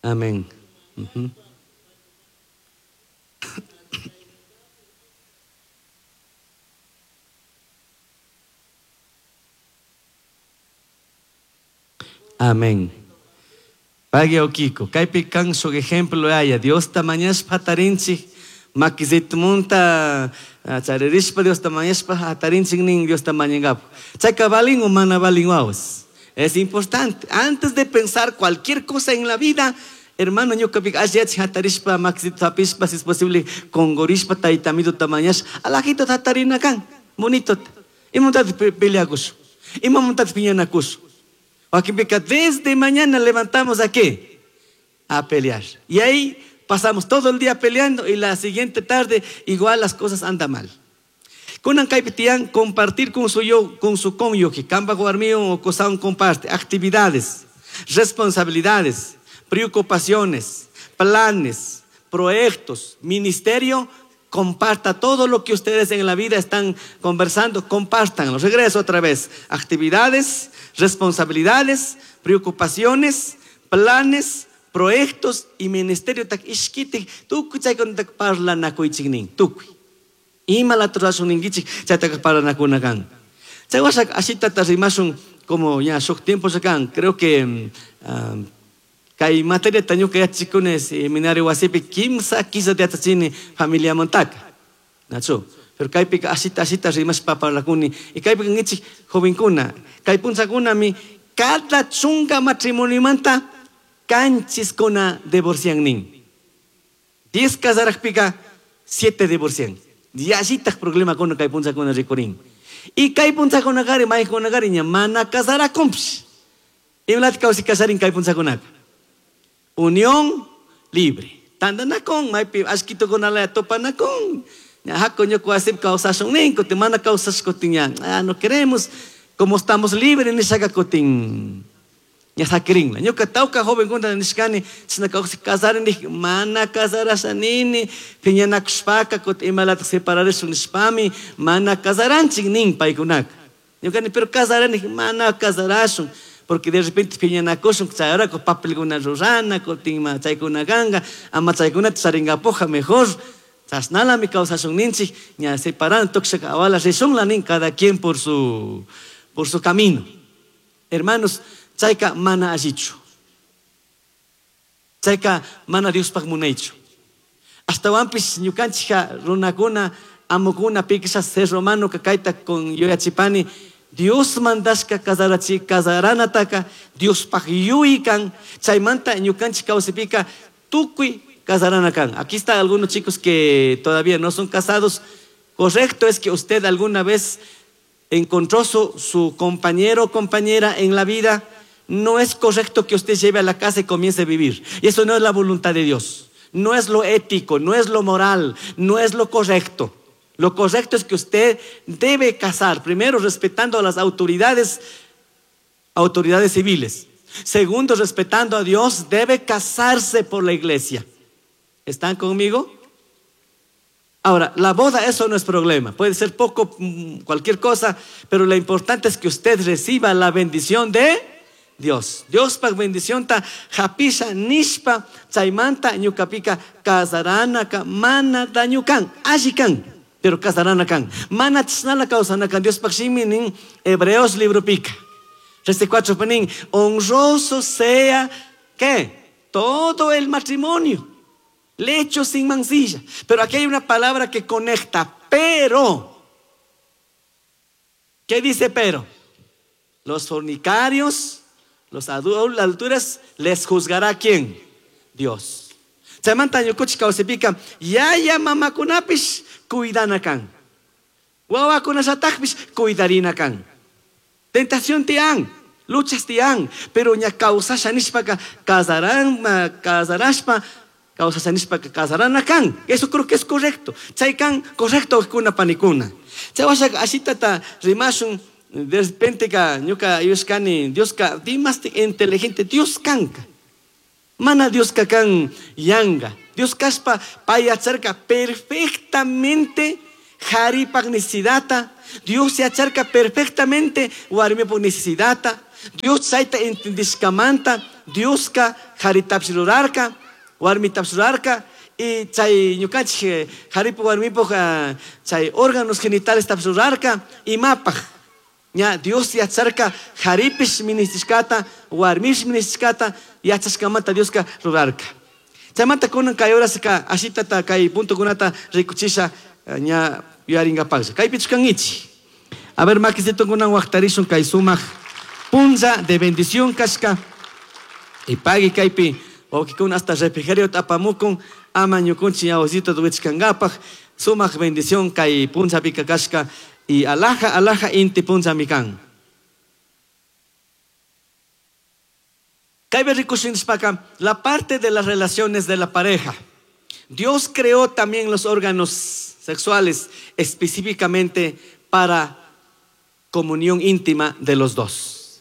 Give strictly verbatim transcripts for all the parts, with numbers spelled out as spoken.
Amén. Uh-huh. Amén. Pagui okiko. Kaypi kan shuk ejemplo haya. Dios ta mañashpa hatarinchik. Makizitumanta charirishpa Dios ta mañashpa hatarinchik nin Dios ta mañangapu. Chayka balin o mana balin wawas. Es importante. Antes de pensar cualquier cosa en la vida, hermano, ñuqapika alliyachi hatarishpa makizito hapishpa, si es posible, kongorishpa taytamito ta mañash, alajito hatarina kan. Bonito. Imamantataq peleakush. Imamantataq piñanakush. Wakinpika desde mañana levantamos a qué? A pelear. Y ahí pasamos todo el día peleando y la siguiente tarde igual las cosas andan mal. Kunan kaypi tiyan compartir con su yo, con su cónyuge, kamba warmiwan o qosawan comparte actividades, responsabilidades, preocupaciones, planes, proyectos, ministerio. Comparta todo lo que ustedes en la vida están conversando, compártanlo. Regreso otra vez. Actividades, responsabilidades, preocupaciones, planes, proyectos y ministerio. Tak ishkitik, tukuy chaykunatak parlanakuychik tukuy. Ima laturashun ninkichik, chaytaka parlanakunakan. Chay washak ashitata rimashun como ya shuk tiempo kan. Creo que um, kay materia ñuka yachikuni seminario wasipi kimsa kisa yachachini familia montaka. Nachu. Pero kaypika ashita ashita rimashpa parlakuni. Y kaypika nichik jovenkuna. Kay punchakuna mi cada chunka matrimoniomanta kanchiskuna divorcian nin. Diez casarajpika siete divorcian. Yallitaj problema kuna kay punchakuna rikurin. Y kay punchakuna kari maykuna kari ña mana casarakunpish. Imlati kawsi casarin kay punchakunaka. Unión libre. Tandanakun, maypi ashkitukunalaya topanakun. Hako ñuka wasipi kawsashun nin, kutin mana kawsash kutin ña, ah, no queremos, como estamos libres nishaka kutin ña sakirinla. Ñuka tawka jovenkuna nishkani, chashna kawsi kasarin nij, mana kasarasha nini, piñanakushpaka kutin imalatak separarishun nishpami, mana kasaranchik nin paykunaka. Ñuka ni, pero kasarani, mana kasarashun. Porque de repente piñanakushun, chayrako papelkuna rurana, kutin ma chaykuna kanka, ama chaykunata charinkapuja mejor. Chashnalami kawsashun ninchik, ña separan tukshaka awala rishunla nin, cada quien por su, por su camino. Hermanos, chayka mana allichu. Chayka mana Diospaj munaychu. Ashtawanpish ñukanchikka runakuna, amukuna, pikisha ser romano kayta con yuyachipani, Dios mandashka kasarachi kasaranataka Diospaj yuykan, chaymanta ñukanchik kawsipika tukuy kasarana kan. Aquí están algunos chicos que todavía no son casados. Correcto es que usted alguna vez encontró su, su compañero o compañera en la vida. No es correcto que usted lleve a la casa y comience a vivir. Y eso no es la voluntad de Dios. No es lo ético, no es lo moral, no es lo correcto. Lo correcto es que usted debe casar, primero respetando a las autoridades, autoridades civiles. Segundo, respetando a Dios, debe casarse por la iglesia. ¿Están conmigo? Ahora, la boda, eso no es problema. Puede ser poco, cualquier cosa, pero lo importante es que usted reciba la bendición de Dios. Dios pa bendición ta japisha nishpa chaymanta ñukapika kasaranaka mana dañukan, allikan. Pero kasarana kan. Mana chisnala kawsana kan. Dios pakshimi nin Hebreos libro pica. Trece cuatro panin. Honroso sea ¿qué? Todo el matrimonio. Lecho sin mancilla. Pero aquí hay una palabra que conecta. Pero. ¿Qué dice pero? Los fornicarios, los adúlteros, les juzgará ¿quién? Dios. Chaymanta ñukuchik kawsipika yaya mamakunapish cuidana kan. Wawakunashatakpish cuidarina kan. Tentación tiyan, luchas tiyan, pero ña kawsasha nishpaka kasaran, kasarashpa, kawsasha nishpaka kasarana kan. Eso creo que es correcto. Chay kan correcto kuna panikuna. Chay washaka ashitata rimashun de repente ka ñuka yushkani Dios ka dimasti inteligente Dios kanka. Mana Dios kakan yanga. Dios kaspa payacharka perfectamente haripag necesidata. Dios se acharca perfectamente warmipag necesidata. Dios chayta entendishkamanta Dioska haritapis rurarka, warmitapis rurarka y chay ñukanchik haripu warmipuj chay órganos genitales tapis rurarka imapaj. Ña Dios yacharka haripish ministishkata, warmish ministishkata yachashkamanta Dioska rurarka. Chaymanta kunan kay horaska ashitata kay puntokunata rikuchisha ña yuyaringapaklla. Kaypichu kankichik. A ver, makisito kunan waqtarishun kay sumaq punlla de bendición kashka. Y pagui kaypi wawqikuna hasta refrigerio apamukun ama ñukunchik ñawasito wichkankapaq sumaq bendición kay punllapika kashka y alaja alaja inti punllami kan. Kaypi rikushinishpaka la parte de las relaciones de la pareja. Dios creó también los órganos sexuales específicamente para comunión íntima de los dos.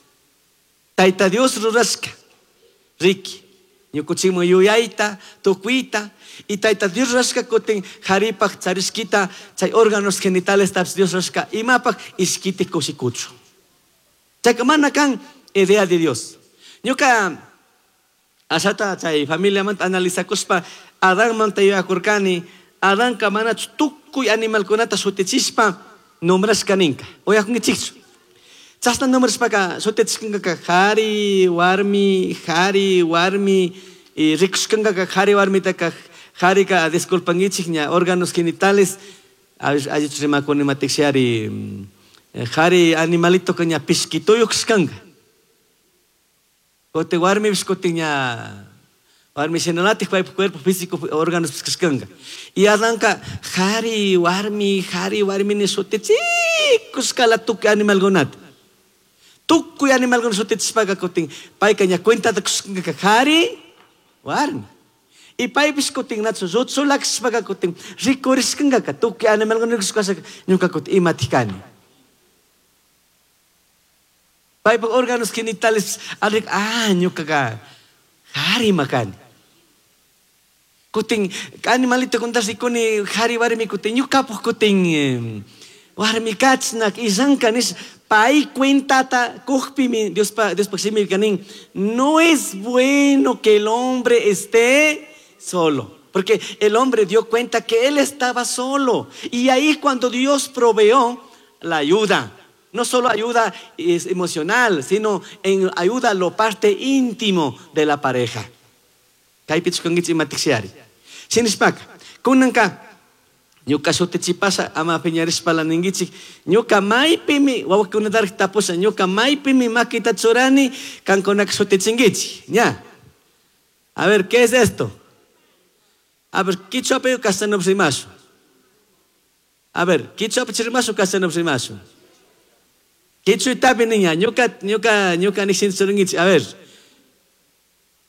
Taita Dios rurashka, riki, ñukuchikman yuyayta, tukuyta, y Taita Dios rurashka kutin haripaj charishkita, chay órganos genitales taps Dios rurashka, imapaj ishkiti kushikuchu. Chayka mana kan idea de Dios. Ñuka ashata chay familiamanta analizakuspa Adanmanta yuyakurkani, Adanka manachu tukuy animalkunata shutichishpa nombrashka ninka. Uyakunkichikchu. Chashna nombrashpaka shutichishkankaka hari, warmi, hari, warmi, y rikushkankaka hari warmitaka harika disculpankichik ña órganos genitales, allichu rimakuni matikshari, hari animalito ña pishkituyuk kashkanka. Kote warmipish kutin ña warmi shinalatik paypak cuerpo físico órganos kashkanka. Y Adanka hari warmi, hari warmi ni shutichikushkala tukuy animalkunata. Tukuy animalkuna shutichishpaka kutin payka ña cuentata kushkanka hari warmi. Y paypish kutin nachu rutsulakshpaka kutin rikurishkankaka tukuy animalkuna rikushkashaka ñuka kutin imatik kani. Paypak órganos genitales arik ah ñukaka hari makani. Kutin animalito kuntas rikuni hari warmi kutin ñukapuj kutin warmi kachnak ishanka nish pay cuentata kujpimi Diospa Diospak shimi kanin no es bueno que el hombre esté solo. Porque el hombre dio cuenta que él estaba solo. Y ahí cuando Dios proveó la ayuda. No solo ayuda emocional, sino en ayuda a lo parte íntimo de la pareja. Kaypichu kankichik imatikshiari. Shinishpaka, kunanka, ñuka shutichipasha ama piñarishpala ninkichik, ñuka maypimi, wawakunatarik tapusha, ñuka maypimi makita churani, kankunaka shutichinkichik. Ña. A ver, ¿qué es esto? A ver, kichwapi o castellanopi rimashu? A ver, kichwapi rimashu o castellanopi rimashu? Kichwitapi niña, ñuka, ñuka, ñuka nishin churunkichik. A ver.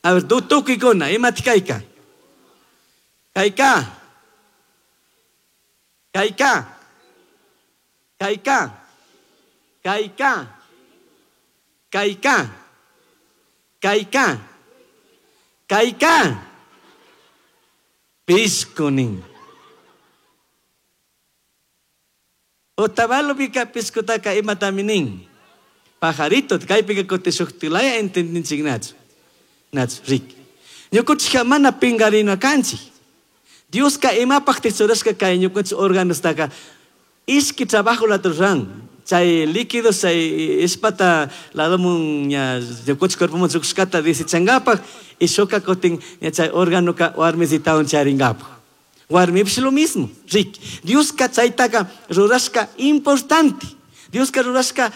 A ver, tu tukuykuna, imatik kayka? Kayka. Kayka. Kayka. Kayka. Kayka. Kayka. Kayka. Piskunin. Otavalo pika piskutaka imatami nin. Pajarito, kaypika kutishuktilaya entendinchik nachu. Nachu, riki. Ñukunchikka mana pinkarina kanchik. Dioska imapaq tichurashka kay ñukunchik órganostaka ishki trabajo la ruran. Chay líquidos, chay ispata ladomun ña ñukunchik cuerpomun llukushkata desechankapak y shuka kutin ña chay órganoka warmisitawan charinkapak. Warmipish lo mismo, riki. Dioska chaytaka rurashka importante. Dioska rurashka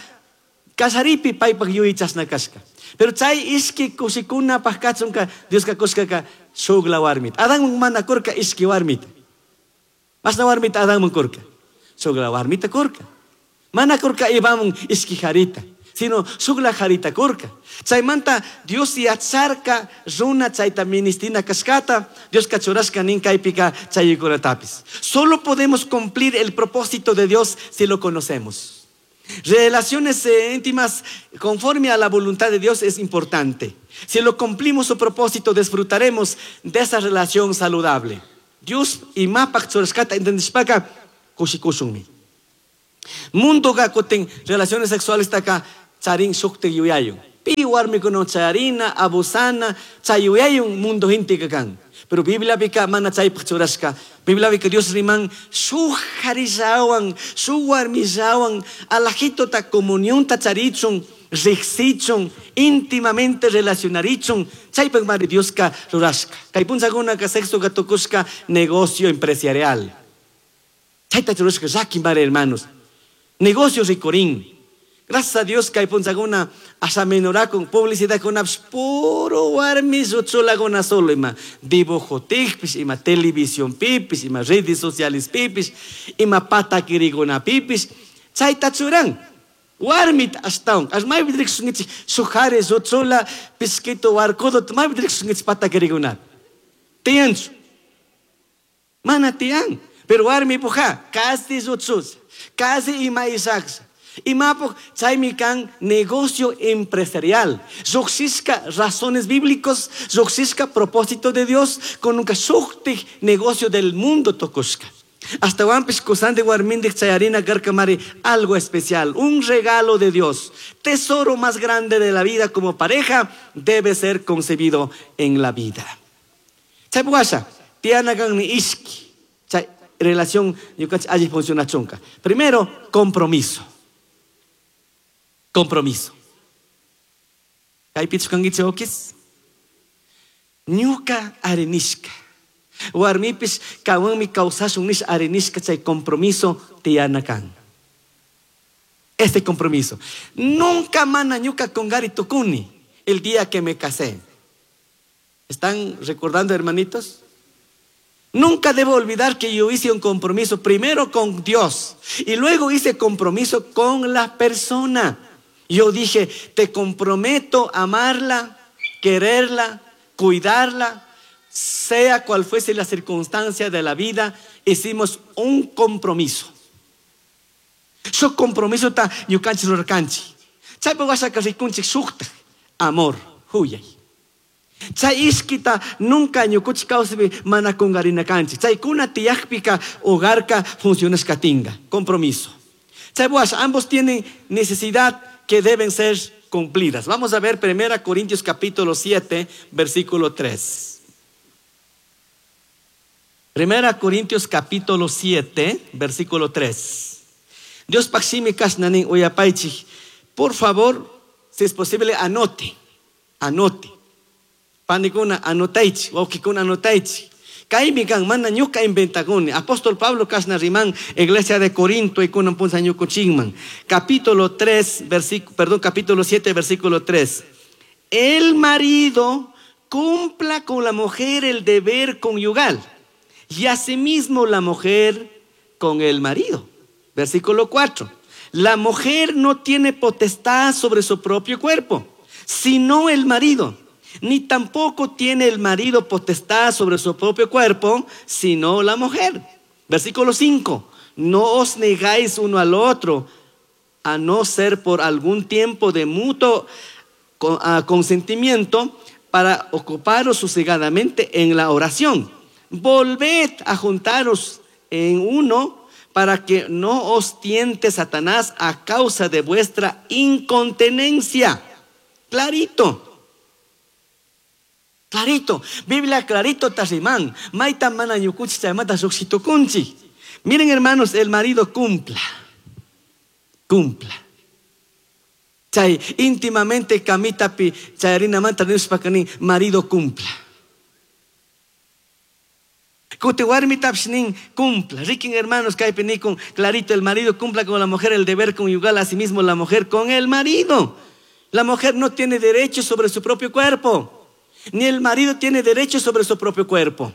kasaripi paypak yuyaychashna kashka. Pero chay ishki kushikunapaq kachunka Dioska kushkaka shukla warmita. Adanman mana kurka ishki warmita. Mashna warmita Adanman kurka. Shukla warmita kurka. Mana kurka Evaman ishki harita, sino shukla harita kurka. Chaymanta Dios yacharka runa chayta ministina kashkata, Dios kachurashka nin kaypika chaykunatapis. Solo podemos cumplir el propósito de Dios si lo conocemos. Relaciones íntimas conforme a la voluntad de Dios es importante. Si lo cumplimos su propósito, disfrutaremos de esa relación saludable. Dios imapak churashkata entendishpaka kushikushunmi. Mundo ga kutin relaciones sexuales taka charin shukti yuyayu. Pi warmikunawan chayarina, abusana, chay yuyaywan mundo gente kan. Pero Bibliapika mana chaypaq churashka. Bibliapika Dios riman shuk harillawan, shuk warmillawan, alajitota comunionta charichun, riqsichun, íntimamente relacionarichun, chaypaq mari Dioska rurashka. Kay punchakunaka sexoka tukushka negocio empresarial. Chayta churashka llaki mari hermanos. Negocio rikurin. Gracias a Dios kay punchakuna asha menorakun publicidadkunapish puro warmi lluchulakuna solo ima dibujotikpish, ima televisionpipish, ima redes socialespipish, ima patakirikunapipis, chayta churan. Warmita ashtawan, ash maypi riqsinkichik shuk jari lluchula pisquito warkudo, maypi riqsinkichik patakirikunata. Tiyanchu? Mana tiyan. Pero warmi puja, casi lluchus, casi ima isaqsa. Imapuq chaymi kan negocio empresarial. Lluqsishka razones bíblicos, lluqsishka propósito de Dios, con nunca shuktik negocio del mundo tokushka. Hasta wampis kusandi warmindik chayarina karkamari algo especial, un regalo de Dios. Tesoro más grande de la vida como pareja debe ser concebido en la vida. Chaypuwasha, tianakan ni ishki. Chay relación ñukanchik alli funcionachunka. Primero, compromiso. Compromiso. Kaypichu kankichik okis? Ñuka arinishka. Warmipis kawanmi kawsashun nish arinishka chay compromiso tiyana kan. Este compromiso. Nunca mana ñuka kongari tukuni el día que me casé. ¿Están recordando, hermanitos? Nunca debo olvidar que yo hice un compromiso primero con Dios y luego hice compromiso con la persona. Yo dije, te comprometo a amarla, quererla, cuidarla, sea cual fuese la circunstancia de la vida, hicimos un compromiso. Su compromiso ta ñukanchik rurarkanchik. Chaypi wasaka rikunchik shukta, amor, huyay. Chay ishkita nunca ñukuchik kawsaypi mana kungarinakanchik. Chaykuna tiyakpika hogarka funcionashkatinga. Compromiso. Chay washa, ambos tienen necesidad que deben ser cumplidas. Vamos a ver Primera Corintios capítulo siete, versículo tres. Primera Corintios capítulo siete, versículo tres. Dios paximi kasnanin uyapaichik. Por favor, si es posible, anote. Anote. Panikuna anotaichi, wawkikuna anotaichi. Kaymi kan mana ñuka inventakuni. Apóstol Pablo kasna riman iglesia de Corinto y kunan punza ñukuchinman. Capítulo tres, versículo, perdón, capítulo siete, versículo tres. El marido cumpla con la mujer el deber conyugal y asimismo la mujer con el marido. Versículo cuatro. La mujer no tiene potestad sobre su propio cuerpo, sino el marido. Ni tampoco tiene el marido potestad sobre su propio cuerpo, sino la mujer. Versículo cinco. No os negáis uno al otro, a no ser por algún tiempo de mutuo consentimiento, para ocuparos sosegadamente en la oración. Volved a juntaros en uno, para que no os tiente Satanás a causa de vuestra incontinencia. Clarito. Clarito, Biblia clarito tarimán, maita mana ñukuchi chaymanta lluqshitukunchik. Miren hermanos, el marido cumpla, cumpla. Chay íntimamente kamitapi chayarinamanta nishpaka nin marido cumpla. Kuti warmitapish nin cumpla. Rikin hermanos kaypi nikun clarito, el marido cumpla con la mujer el deber conyugal, asimismo la mujer con el marido. La mujer no tiene derecho sobre su propio cuerpo. Ni el marido tiene derecho sobre su propio cuerpo,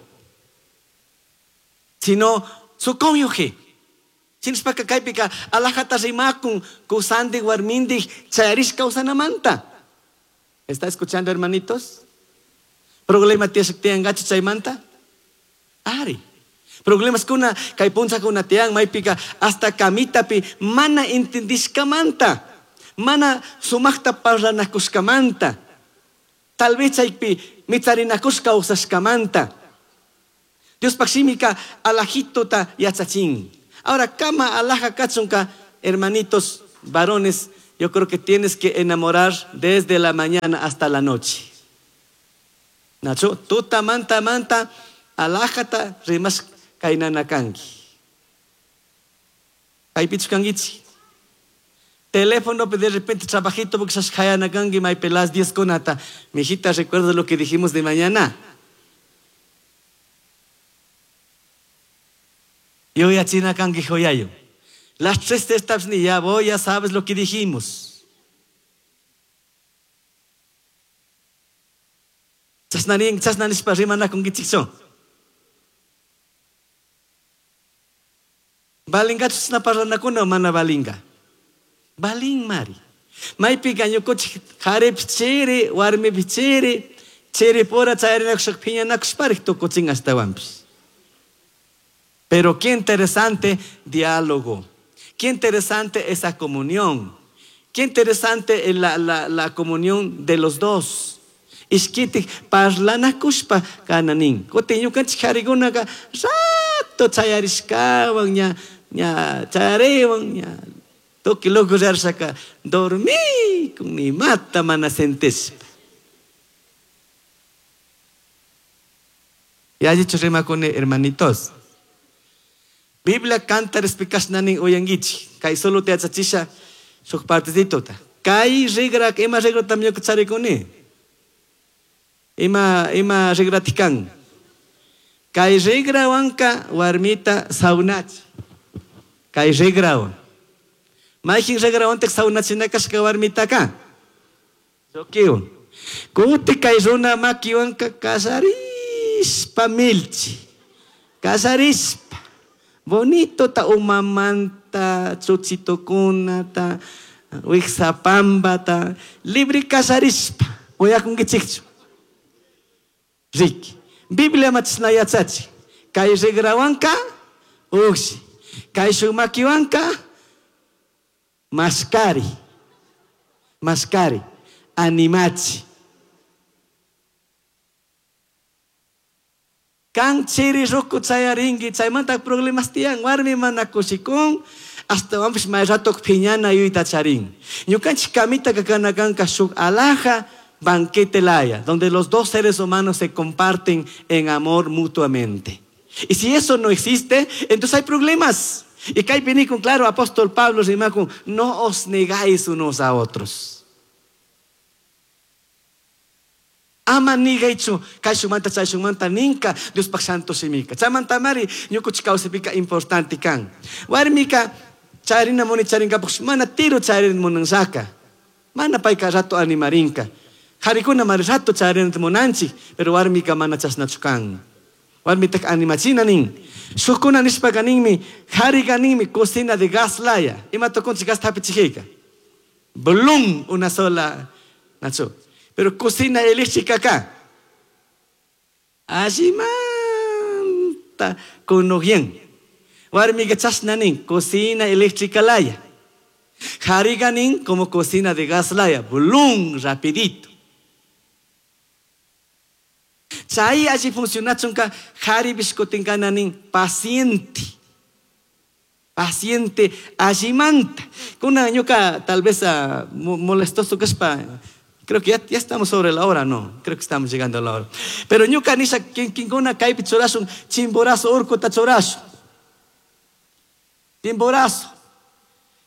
sino su cónyuge. Shinashpaka kaypika alajata rimakun kusandi warmindik chayarish kawsanamanta. ¿Está escuchando, hermanitos? Problema tiyangachu chaymanta? Ari. Problemas kuna kay punchakuna tiyan maypika hasta kamitapi mana entendishkamanta, mana sumaqta parlanakushkamanta. Tal vez chaypi mitzarinakushka kawsashkamanta. Diospaq shimika alajitota yachachin. Ahora, kama alaja kachunka, hermanitos, varones, Yo creo que tienes que enamorar desde la mañana hasta la noche. Nacho, tuta manta manta alajata rimas kainanakanki. Kaypichu. Teléfono de repente trabajito porque sas may pelas diez conata. Mijita, recuerda lo que dijimos de mañana. Yo ya china kangi joyayo. Las tres etapas ni ya voy, ya sabes lo que dijimos. Chasnanin, chasnanispa rimanakunkichikchu. Balingachu chasna parlanakuna o mana balinga? Balin mari. Maypiqa ñukunchik qharipish chiri, warmipish chiri, chiripura chayarinakushpa phiñanakushparik tukuchin ashtawanpish. Pero qué interesante diálogo, qué interesante esa comunión, qué interesante la, la, la comunión de los dos. Ishkitik parlanakushpa kananin. Kutin ñukanchik qharikunaka rato chayarishkawan ña ña chayariwan ña tukuy loco rarshaka dormí con ni mata mana sentishpa. Ya dicho rimakuni hermanitos. Biblia canta respikashnanin uyankichik. Kay solo te yachachisha shuk partecitota. Kay rigra ima rigratam ñuka charikuni. Ima ima rigratikan. Kay rigrawanka warmita saunachi. Kay rigrawan. Mayqin rigrawantaj saunachinakashka warmitaka. Llukiwan. Kuti kay runa makiwanka kasarishpa milchi. Kasarishpa. Bonito ta umamanta, chuchitukunata, wiksapampata, libre kasarishpa. Uyakunkichikchu. Riki. Biblia machishna yachachi. Kay rigrawanka, uqshi. Kay shuk makiwanka, mascari. Mascari. Animachi. Kan chiri ruku chayarinki, chaymanta problemas tiyan, warmi mana kushikun, astawanpish may rato phiñana yuyta charin. Ñukanchik kamita kakanakanka shuk alhaja banquete laya, donde los dos seres humanos se comparten en amor mutuamente. Y si eso no existe, entonces hay problemas. Y kaypi nikun, claro, apóstol Pablo rimakun, no os negáis unos a otros. Ama nigaychu, kayshumanta chayshumanta ninka, Diospaj santo simika. Chaymanta mari ñukuchik kawsaypika importante kan. Warmika charina muni charinkapuk mana tiro charin munansaka. Mana payka rato animarinka. Qharikuna mari rato charinata munanchik, pero warmika mana chashnachu kan. Warmitak animachina nin. Shukkuna nishpaka ninmi, qharika ninmi cocina de gas laya. Ima tukunchik gas hapichijika. Blum, una sola, nachu. Pero cocina eléctrica acá. Allimanta kunuyan. Warmiqa chashna nin, cocina eléctrica laya. Qhariqa nin como cocina de gas laya. Blum, rapidito. Chay alli funcionachunka qharipish kutinkana nin paciente. Paciente allimanta. Kuna ñuka tal vez uh, molestoso kashpa. Creo que ya, ya estamos sobre la hora, no. Creo que estamos llegando a la hora. Pero ñuka nisha kinkuna kaypi churashun Chimborazo urkuta churashun. Chimborazo.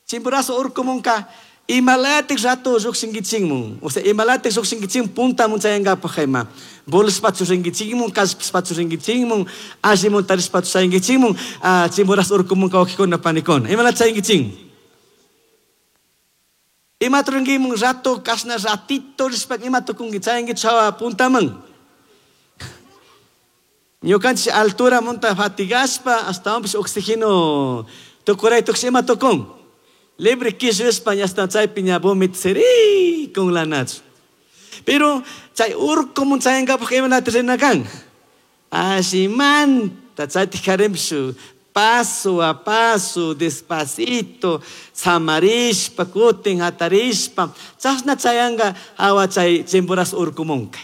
Chimborazo urkumunka imalatik rato lluqshinkichikmun. O sea, imalatik lluqshinkichikmun puntamun chayankapaq ima. Bolishpachu rinkichikmun, kallpashpachu rinkichikmun, allimun tarishpachu chayankichikmun, Chimborazo urkumunka wawqikuna panikuna. Imalat chayankichikmun. Ima turinkimun rato, kashna ratito, rishpa ima tukunki chayanki chawa puntaman. Ñukanchik altura monta fatigashpa, astawanpish oxígeno tukuray tukush ima tukun. Libre kishishpa hasta chaypi ña vomit siri con la nachu. Pero chay urkumun chayankapaq imanata rina kan. Allimanta chaytik harimshu. Paso a paso, despacito, samarishpa, kutin, hatarishpa, chashna chayanga awa chay Chimborazo urkumunka.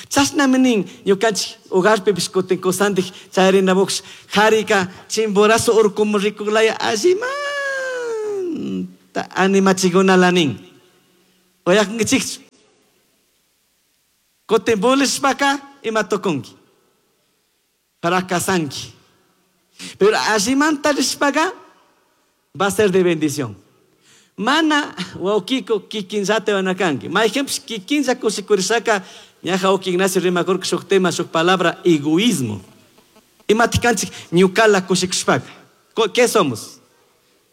Chashna minin ñukanchik hogarpipish kutin kusantik chayarinamuqsh qharika Chimborazo urkumun rikuqlaya allimanta animachikuna lanin. Oyakunkichikchu. Kutin bulishpaka ima tukunki. Fracasanki. Pero allimanta rishpaka va a ser de bendición. Mana waukiko kikinllata wanakanki. Ma ejemplo kikinlla kushikurisaka ñaja uki Ignacio rimakurka shuk tema shuk palabra egoísmo. Imatikanchik ñukala kushikushpaka. ¿Qué somos?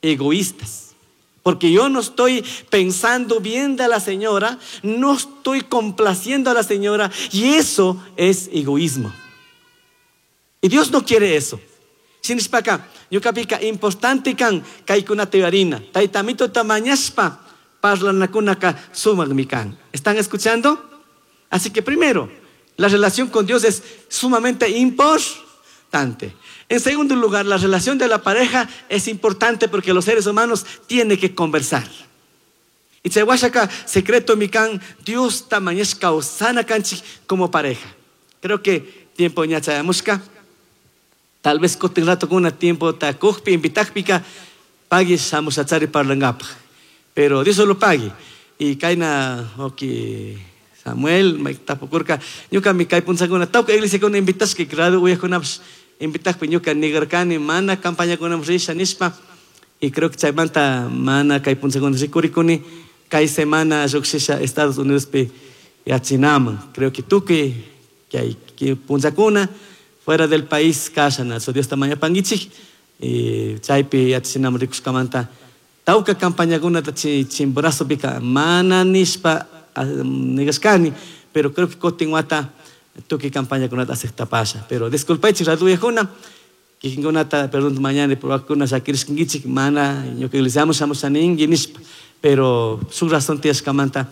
Egoístas. Porque yo no estoy pensando bien de la señora, no estoy complaciendo a la señora, y eso es egoísmo. Y Dios no quiere eso. Shinishpaka, ñukapika importante kan kaikunata yuyarina. Taytamito tamañashpa parlanakunaka sumakmi kan. ¿Están escuchando? Así que primero, la relación con Dios es sumamente importante. En segundo lugar, la relación de la pareja es importante porque los seres humanos tienen que conversar. Y chaywashaka secreto mikan Dios tamañashka osana kanchik como pareja. Creo que tiempo ñachayamushka. Tal vez kutin rato kuna tiempo takujpi invitakpika pagui shamushachari parlangapaj. Pero Dios solo pague. Y kaina oki Samuel tapukurka ñuka mi kay punchakuna tawka iglesia kuna invitashka grado uyakunapash invitakpi ñuka nigarkani mana campaña kuna risha nishpa. Y creo que chaymanta mana kay punchakuna rikurikuni kay semana lluqshisha Estados Unidos pi yachinaman. Creo que tukuy kay punchakuna fuera del país kashana. So Dios tamaña pangichik y chaypi yachinaman rikushkamanta tawka campañakunata Chimborazo pika mana nishpa nigashkani, pero creo que kutin wata tukuy campañakunata aceptapasha. Pero disculpaychik raduyakuna kikinkunata perdón mañana por wakuna shakirishkankichik mana ñuka iglesiaman shamushaninki nishpa, pero su razón tiyashkamanta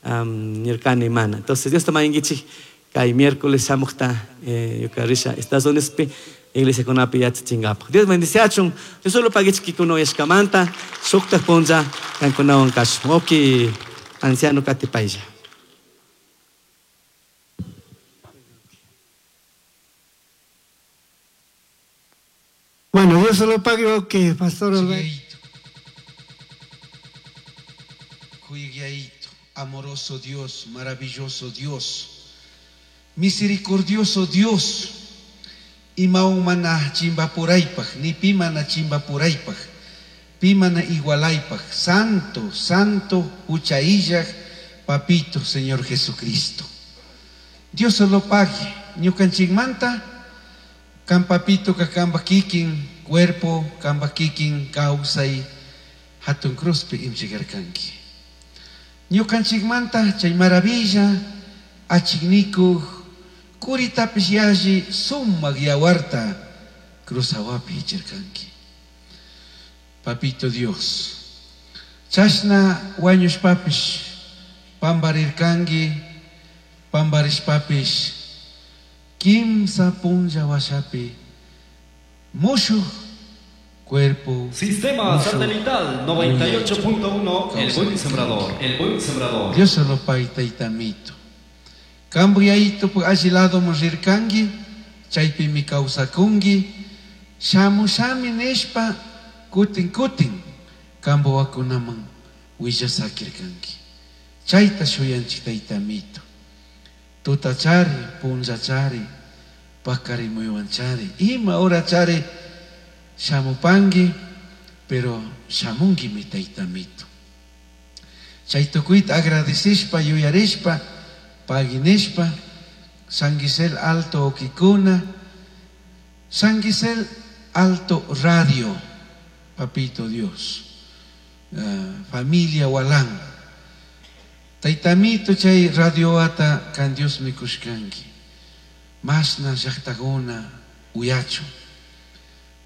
um, nirkani mana. Entonces Dios tamañankichik kay miércoles shamuqta ñuka risha Estados Unidos pi iglesia kunapi yachachinkapak. Dios bendiciachun. Dios solo pagichik kikuna uyashkamanta shuktaq punlla kankunawan kashun. Oki anciano katipaylla. Bueno, Dios se lo pague, ok, Pastor Alberto. Amoroso Dios, maravilloso Dios, misericordioso Dios, imaumana chimbapuraypaj, ni pimana chimbapuraypaj, pimana igualaypaj, santo, santo, huchaillaj, papito, Señor Jesucristo. Dios se lo pague, ñukanchikmanta, kan papito ka kamba kikin cuerpo, kamba kikin kawsay, hatun cruzpi imchigarkanki. Ñukanchikmanta chay maravilla, achiknikuj, kuritapis yalli sumaq yawarta cruzawapi hichirkanki. Papito Dios, chashna wañushpapish pambarirkanki, pambarishpapish kimsa punlla washapi mushuj cuerpo. Sistema satelital noventa y ocho punto uno, El Buen Sembrador, El Buen Sembrador. Dios se lo pague taytamito. Kambuyaito alli lado rirkanki, chaypi mi kawsakunki, shamushami nishpa kutin kutin kambuwakunaman willasakirkanki. Chayta shuyanchik taytamito. Tutachari, punllachari, pakarimuywanchari, ima horachari shamupanki, pero shamunki mi taytamito. Chay tukuyta agradecishpa, yuyarishpa, paginishpa, San Gisel Alto Okikuna, San Gisel Alto Radio, Papito Dios, uh, familia Walán. Taytamito chay radio ata kan Dios mikushkanki. Masna llaqtakuna uyachu.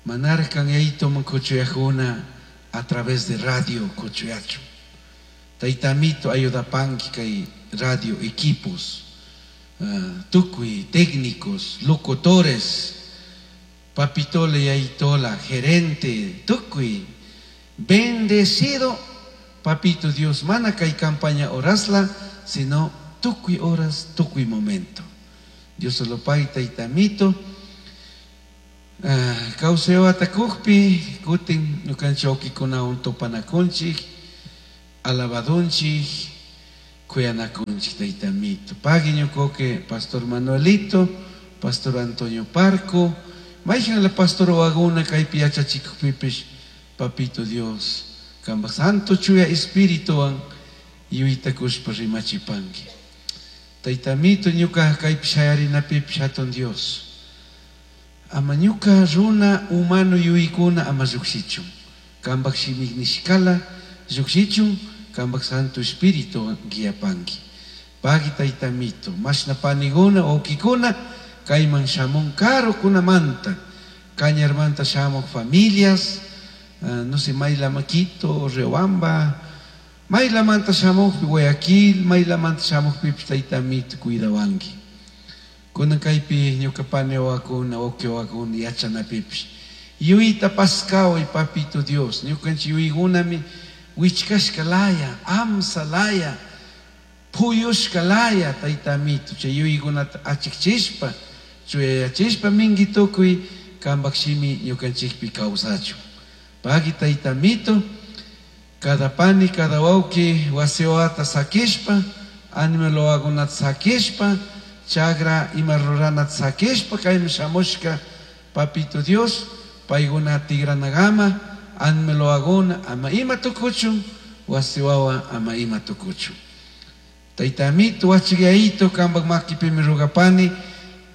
Manarkan yayto mankuchuyajuna a través de radio kuchuyachu. Taytamito ayudapanki kay radio equipos, uh, tukuy técnicos, locutores, papitola y aytola, gerente, tukuy, bendecido papito Dios, mana kay campaña horasla, sino tukuy horas, tukuy momento. Dios se lo pague taytamito. Uh, Kauseo atakujpi, kutin ñukanchik okikunawan tupanakunchik, Alabadunchik, kuyanakunchik Tayta Amito. Pagui ñukoke Pastor Manuelito, Pastor Antonio Parco, mayhan la Pastor waguna kaypi yachachikukpipish, Papito Dios, kamba Santo Chuya Espirituwan yuytakushpa rimachipanki. Tayta Amito ñuka kaypi shayarinapipish hatun Dios. Ama ñuka runa humano yuykuna ama llukshichun. Kambak shimik nishkala llukshichun, kambak Santo Espíritu guiapanki. Pagui Tayta Amito, mashna paniguna, wawkikuna, kayman shamun karukunamanta, Cañarmanta shamuq familias, uh, no sé, Maylamaquito, Riobamba, Maylamanta shamuqpi Guayaquil, Maylamanta shamuqpipish Tayta Amito cuidawanki. Kunan kaypi ñuka pani wawakuna, wawqi wawakuna yachanapipish. Yuyta paskaway Papito Dios, ñukanchik yuykunami wichkashka laya, amsa laya, puyushka laya, Tayta Amito, chay yuykunata achikchishpa, chuyayachishpa minki tukuy kambak shimi ñukanchikpi kawsachun. Pagui Tayta Amito, cada pani, cada wawqi wasi wawata sakishpa, animal wawakunata sakishpa, chagra ima ruranata sakishpa, kayman shamushka Papito Dios, paykuna tigranagama, animal wawakuna ama ima tukuchun, wasi wawa ama ima tukuchun. Tayta Amito, wachikayito, kambak makipimi rugapani,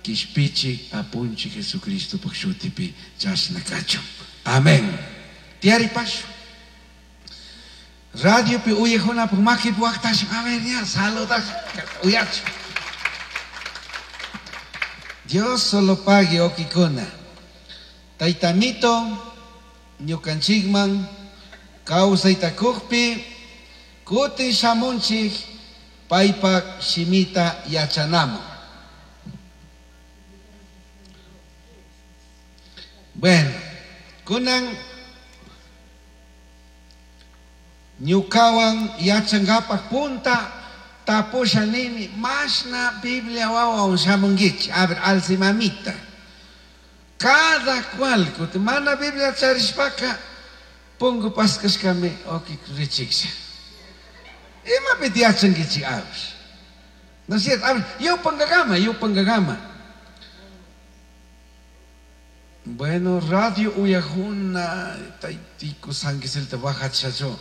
kishpichi apunchi Jesucristo shutipi chashna kachun. Amén. Tiaripashu. Radiopi uyajunapuk makipi waqtashun. A ver, ya, saludash, uyachu. Dios solo pague okikuna. Tayta Amito, ñukanchikman kawsaytakukpi, kutin shamunchik paypak shimita yachanaman. Bueno, kunan ñukawan yachankapak punta tapusha nini mashna Biblia wawan shamunkichik. A ver, alce mamita. Cada cual, kuti mana Biblia charishpaka pungu paskashkami oki richiksha. Imapiti yachankichik, a ver. No es cierto, a ver, yupangagama, yupangagama. Bueno, radio uyajuna, taytiku sanguiselta bajachacho.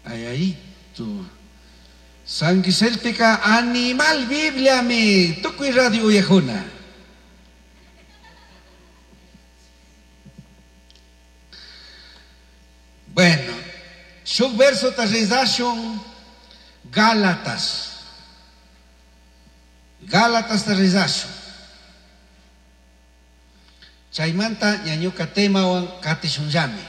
Ay, ahí tu. Sanguiselpika animal Biblia mi, tukuy radio uyajuna. Bueno, shuk verso ta rezashun Gálatas. Gálatas ta rezashun. Chaymanta ñañuka temawan katishunllami.